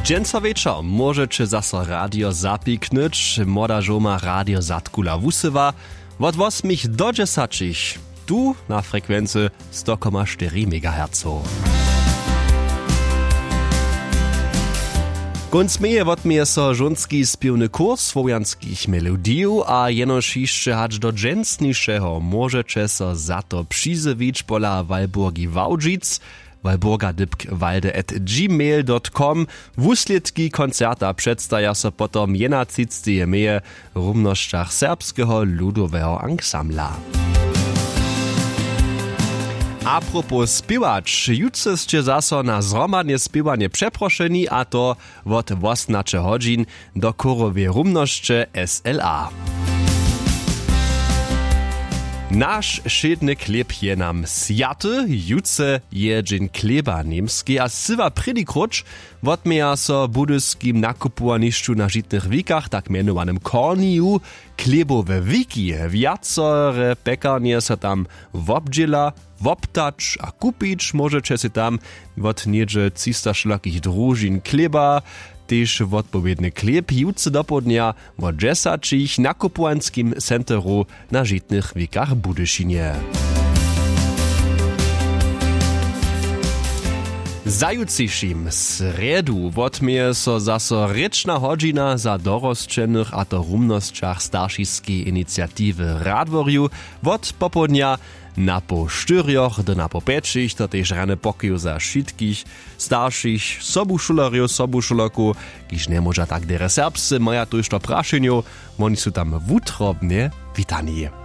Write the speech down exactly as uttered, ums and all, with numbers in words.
Dźensa wječor móžeće zaso radio zapiknyć. Młoda žołma radio zadkula wusyła wot wosmich do dźesaćich, tu na frekwency sto koma štyri megahercow. Kónc meje wotměje so žónski spěwny kurs słowjanskich melodijow a jenož hišće hač do dźensnišeho móžeće so za to přizjewić pola walburgi wałdźic, walburga dypk walde at gmail dot com. Wuslědki koncerta předstaja so potom jedenatřiceteho meje w rumnosćach serbskeho ludoweho ansambla. Apropos spěwać, jutře sće zaso na zhromadne spěwanje přeprošeni, a to wot wosomnaće hodźin do chóroweje rumnosće sla. Naš wšědny chlěb je nam swjaty. Jutře je dźeń chlěba w němskej a syła prěni króć wotměja so w budyskim nakupowanišću na žitnych wikach, tak mjenowanym korniju, chlěbowe wiki. Wjacore pjekarnje so tam wobdźěla woptać a kupić móžeće sej tam wot něhdźe třista wšelakich družin chlěba. Tež wotpowědny chlěb jutře dopołdnja wot dźesaćich w nakupowanskim centru na žitnych wikach w budyšinje. Za jutřišim srjedu wotměje so zaso rěčna hodźina za dorosćenych, a to w rumnosćach staršiskeje iniciatiwy w radworju wot popołdnja na poł štyrjoch do na poł pjećich, to tež rjany pokoju za wšitkich staršich sobušulerjow sobušulerkow, kiž njemóža tak derje serbsce, maja tójšto prašenjow. Woni su tam wutrobnje witani.